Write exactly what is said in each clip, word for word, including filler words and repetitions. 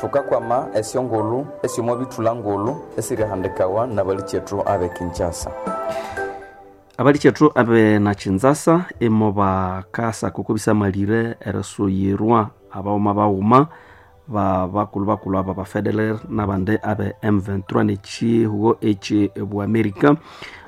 Tukakwama esyongulu esyomo bithula ngulu esirihandikawa nabalikyetu abe Kinshasa. Abalikyetu abe na Kinshasa emo bakasa kuko bisamalire erisuyirwa abaghuma baghuma ba bakulhu bakulhu aba ba Federer nabandi abe M twenty-three nekihugo ekye Amerika.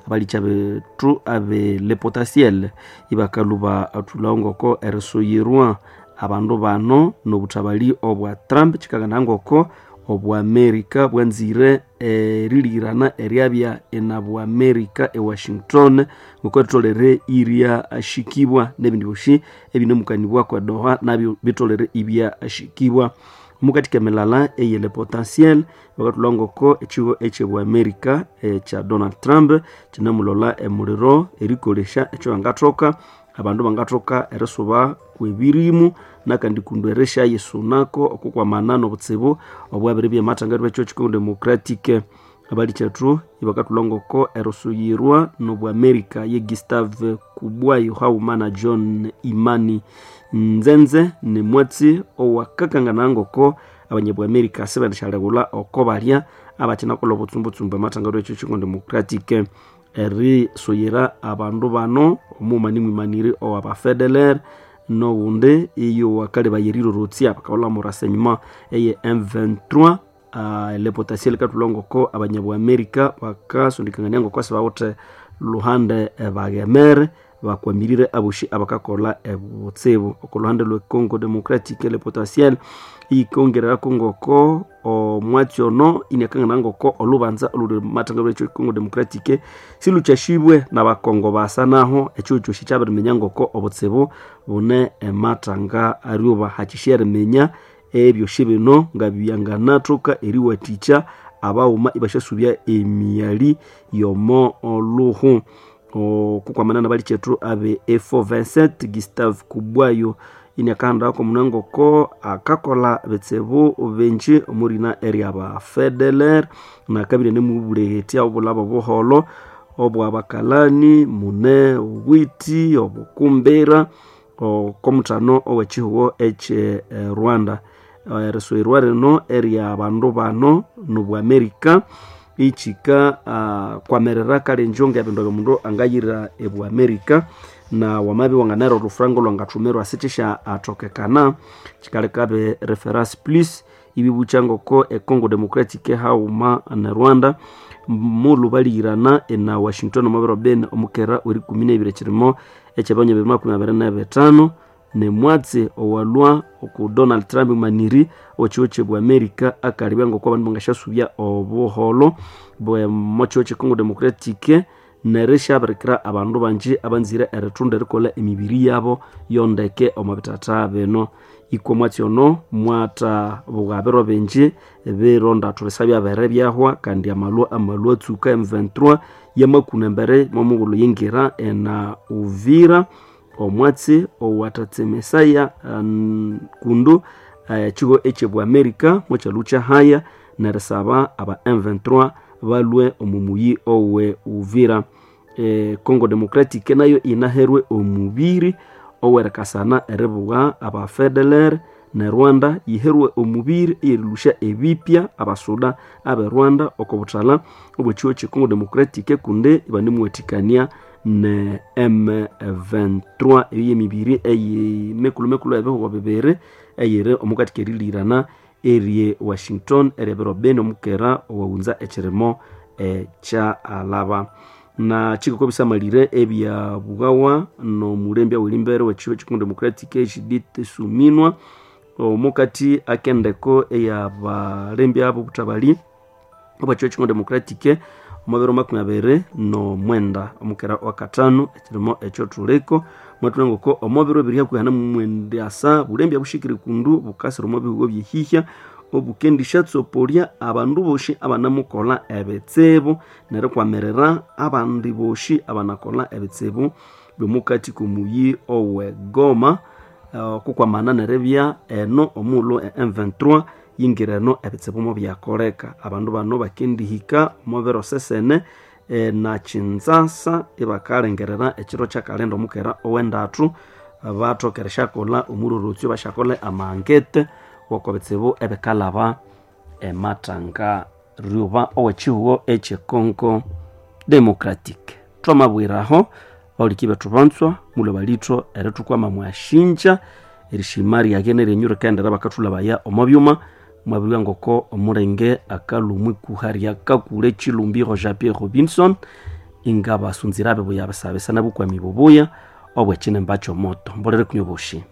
Abalikya bethu abe Le Potentiel ibakaluba athulhawo ngoko erisuyirwa abandu bano nobuthabali obwa Trump kikagana ngoko obwa Amerika bwanzire erilirana eryabya ena Amerika e Washington ngoko etolere irya ashikibwa nebindi byosi ebinemukanibwa kwa Doha nabyo bitolere ibya ashikibwa. Mukatika milala eye Le Potentiel bakatulwa ngoko ekigo ekye Amerika ekya Donald Trump kinamulola emuliro erikolesha ekyo bangathoka abandu bangathoka erisuba kwebirimu nakandi kundu eresha yesunako okukwamana nobutsibu obwabiri byematanga bwekyo Congo Democratic. Abalikyetu ibakatulwa ngoko erusuyirwa nobwa Amerika ye Gustave Kubwayo hauma na John Imani Nzenze ne mwatsi owakakangana ngoko abanyabwa Amerika sebandishalegula oko balya abakinakola obutsumbutsumbu amatanga bwekyo Congo Democratic erisuyira abandu bano omumani mwimaniri owa Federer nowundi iyo wakale bayerirorotsia bakaola murasenyuma eye M twenty-three uh, Le Potentiel katulongoko abanyabwa Amerika bakasundikangania ngoko sibawuthe luhande bagemere bakwamirire aboshi abakakola ebutsibu okuluhande lwe Congo Democratic. Le Potentiel ikongerera ngoko omwatsi ono inakangana ngoko olubanza oluli matanga lwekyo Congo Democratic siluchashibwe nabakongo basa naho ekyo kyoshi kyabiriminya ngoko obutsibu bune ematanga aryoba hakisheriminya ebyoshi bino nga byanganathoka eriwathikya abaghuma ibashasubya emiyali yomo oluhu. Okukwamana nabalikyetu abe E four twenty-seven Gustave Kubwayo inakahanda munangoko akakola bitsibu benji omurina eryaba Federer nakabire nemubulegetya obulabo buholo obwabakalani mune obwiti obukumbira okomuthano owekihugo ekye Rwanda. Eriswirwa rino erya bandu bano nobwa Amerika ichika uh, kwamerera kale njonga ebindu byomundu angayira ebwa Amerika na wamabi wanganera olufrango lwangathumirwa sikyisha athokekana kikalekabe reference plus ibibucha ngoko e Congo Democratic hauma na Rwanda mulubalirana ena Washington omubiro ben omukera werikumi nebiri ekirimo ekyabanya bibiri makumi abiri nebitano nemwatsi owalwa oku Donald Trump maniri okiwo kyebwa Amerika akalibya ngoko abandu bangashasubya obuholo bwe mokiwo kye Congo Democratic nerishabirikira abandu banji abanzire erithunda erikolha emibiri yabo yondeke omu bitata bino. Ikwa mwatsi ono mwatha bugabiro binji birondathu bisabya bere byahwa kandi amalwa amalwa atsuka M twenty-three yamakuna embere momughulhu yingira ena Uvira omwatsi owathatse Mesaya um, kundu ekigo uh, ekyebwa Amerika mukyalu haya nerisaba aba M twenty-three balwe omumuyi owe Uvira. E, Congo Democratic nayo inaherwe omubiri owerekasana eribuga aba Federer ne Rwanda yiherwe omubiri erilusha ebipya abasuda abe Rwanda okobuthala obwekigo kye Congo Democratic kunde ibanemuwathikania ne M twenty-three eyo yemibiri eyimekulu mekulu ebihugo bibiri eyiri omukati kerilirana erye Washington eryabiro beni omukera owawunza ekirimo ekya alaba. Na chikoko bisamalire ebya bugawa nomulembya welimbere wekigo kye Congo Democratic Judith Suminwa omukati akendeko eyabalembya abo butabali obwekigo kye Congo Democratic omubiro makumi abiri nomwenda omukera wakatano ekirimo ekyo thuliko mwatulengoko omubiro ebiri hakuhi namumwenda asa bulembya bushikire kundu bukasira omu bihugo byehihya obukendishatsopoliya abandu boshi abanamukola ebitsibu nerikwamirira abandi boshi abanakola ebitsibu byomukati komuyi owe Goma okukwamana neribya eno omughulhu e M twenty-three yingira eno ebitsibu mubyakoleka abandu bano bakendihika omubiro sesene e, na Kinshasa ibakalengerera ekiro kyakalenda omukera owendathu bathokereshakola omurorotsyo bashakola amangete boko bitsibu ebikalaba ematanga ryuba ow'ekihugo eky'econgo democratic twamabwiraho bauliki bethu banzwa mulwe balitho erithukwama mwashinja erishima ryage neryenyu rikaendera bakathulabaya omo byuma mwabirwa ngoko omulenge akalumwi kuha ryakakule chilumbi Roger Pierre Robinson inga basunzira bebuya basabesa nabukwami bubuya obwekinemba kyomoto mbolere kunywa obushi.